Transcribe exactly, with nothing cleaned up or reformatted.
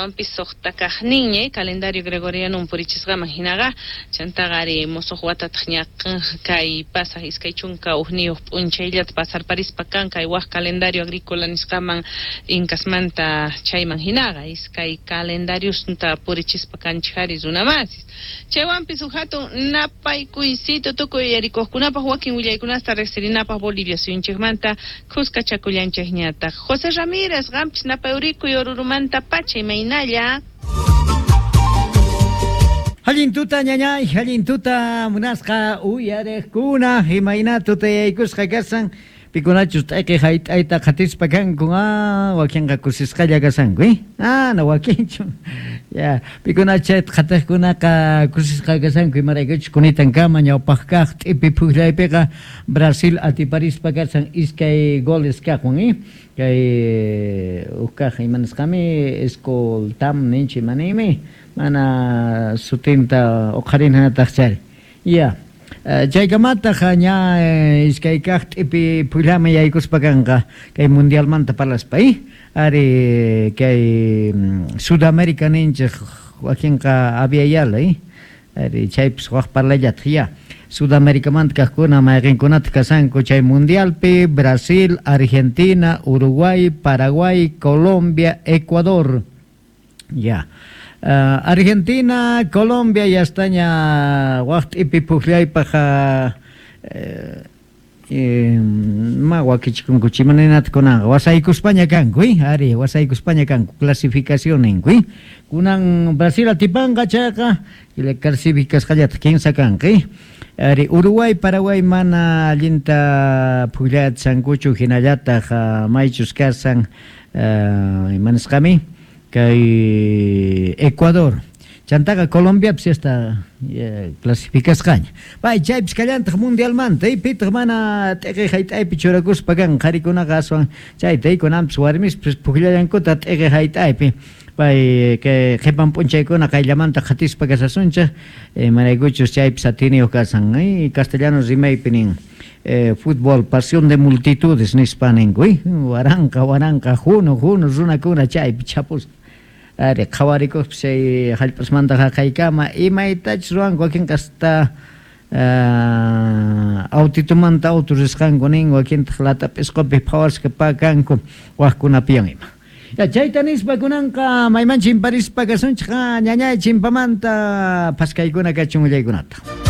Chaywanpis suqta kaqninña calendario gregoriano purichisqaman hinaqa chantaqa ari musuq watataq ña kay pasaq iskay chunka hukniyuq p'unchayllata pasarparispa kan kay waq calendario agrícola nisqaman inkasmanta chayman hinaqa iskay calendariosnta purichispa kanchik ari runamasis. Chaywanpis huk hatun napaykuysito tukuy yarikuqkunapaq wakin willaykunasta riqsirinapaq Bolivia suyunchikmanta kuskachakullanchikñataq. José Ramírez, qampis napayurikuy Orurumanta pacha imaynalla. Allin tuta ñañay, allin tuta munasqa uyariqkuna, imayna tutayaykusqa kasan, pikunachus t'ayqi hayt'ayta qhatispa kanku, ah, wakinqa kusisqalla kasanku, eh? Ah, no wakinchu. Ya, pikunachus qhatiqkunaqa kusisqa kasanku, imaraykuchus kunitankama ñawpaq kaq t'ipi phuqllaypiqa Brasil atiparispa kasan iskay goles kaqwan, eh? Kay huk kaq imanasqami escoltam ninchik imaniymi mana sutinta uqharinataq chari. Ya. Chaykamataq ña iskay kaq t'ipi phuqllaman yaykuspa kanqa kay mundialmanta parlaspa, eh? Ari kay Sudamérica ninchik wakinqa Abya Yala, eh? Ari chaypis waq parlallataq ya. Sudaméricamanta kaqkuna mayqinkunataq kasanku chay mundialpi Brasil, Argentina, Uruguay, Paraguay, Colombia, Ecuador. Ya. Uh, Argentina, Colombia ya estaña waq t'ipi phuqllaypaq eh, eh, ma wakichikunku chimaninata kunanqa wasaykuspaña kanku, eh? Ari wasaykuspaña kanku clasificación ninku, eh? Kunan Brasil atipanqa chayqa clasificasqallataq kinsa kanqa, eh? Ari Uruguay, Paraguay mana allinta phuqllatsankuchu hinallataq uh, maychus kasan uh, imanasqami kay Ecuador. Chantaqa Colombiapis hasta clasificasqaña. Pay chaypis kallantaq mundialmanta, eh, pitaq mana t'iqi hayt'aypi churakuspa kan qharikunaqa aswan chayta kunanpis warmispis phuqllallankuta t'iqi hayt'aypi. Pay kay qhipan p'unchaykuna qayllamanta qhatispa kasasunchik, imaraykuchus chaypis atiniyuq kasan, eh, castellano rimaypi nin. Eh, fútbol, pasión de multitudes nispa ninku, eh? Waranqa, waranqa, hunu, hunu runakuna chaypi chapusqa. Ari qhawarikuqpis chay hallp'asmanta haqaykama imaytachus ruwanku wakinqa hasta uh, autitumanta auto risqanku nin wakintaq lata p'isqupi phawasqa pakanku waqkunapiwan ima. Ya chayta nispa kunanqa mayman chimparispa kasunchik ñañay chimpamanta phaskaykuna kachun willaykunata.